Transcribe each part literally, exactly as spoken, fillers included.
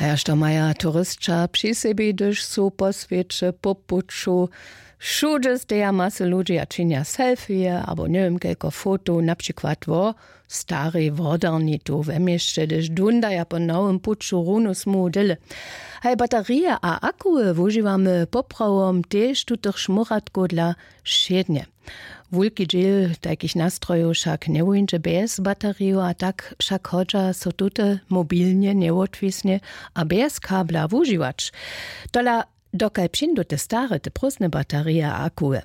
A jaž to maja turysća při sebi, hdyž su po swěće po puću? Wšudźe steja masy ludźi a činja selfije abo njewěm kelko fotow, na přikład wo starej wodarni tu we měsće, hdyž dundaja po nowym puću runu smuhu dyle. Haj baterije a akuły wužiwamy poprawom tež tutych šmóratkow dla wšědnje. Wulki dźěl tajkich nastrojow wšak njewuńdźe bjez bateriju, a tak wšak hodźa so tute mobilnje, njewotwisnje a bjez kabla wužiwać. Tola, dokal přińdu te stare, te prózdne baterije a akuły?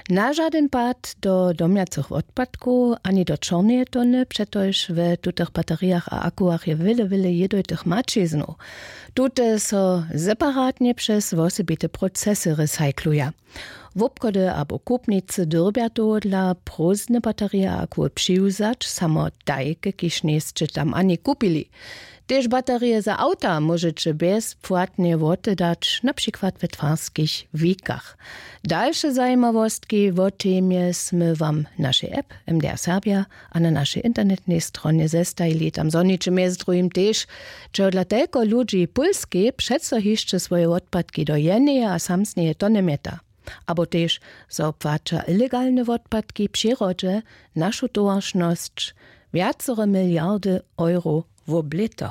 Na žadyn pad do domjacych wotpadkow ani do čorneje tony, přetož we tutych baterijach a akułach je wjele wjele jědojtych maćiznow. Tute so separatnje přez wosebite procesy recykluja. Wobchody abo kupnicy dyrbja tohodla prózdne baterije a akuły přiwzać, samo tajke, kiž njejsće tam ani kupili. Tež baterije za awta móžeće bjezpłatnje wotedać, na přikład we twarskich wikach. Dalše zajimawostki wo temje smy wam w našej app M D R Serbja a na našej internetnej stronje zestajili. Tam zhoniće mjez druhim tež, čehodla telko ludźi w Pólskej přeco hišće swoje wotpadki do jeneje a samsneje tony mjeta, abo tež zo płaća ilegalne wotpadki w přirodźe našu towaršnosć wjacore miliardy euro wob lěto.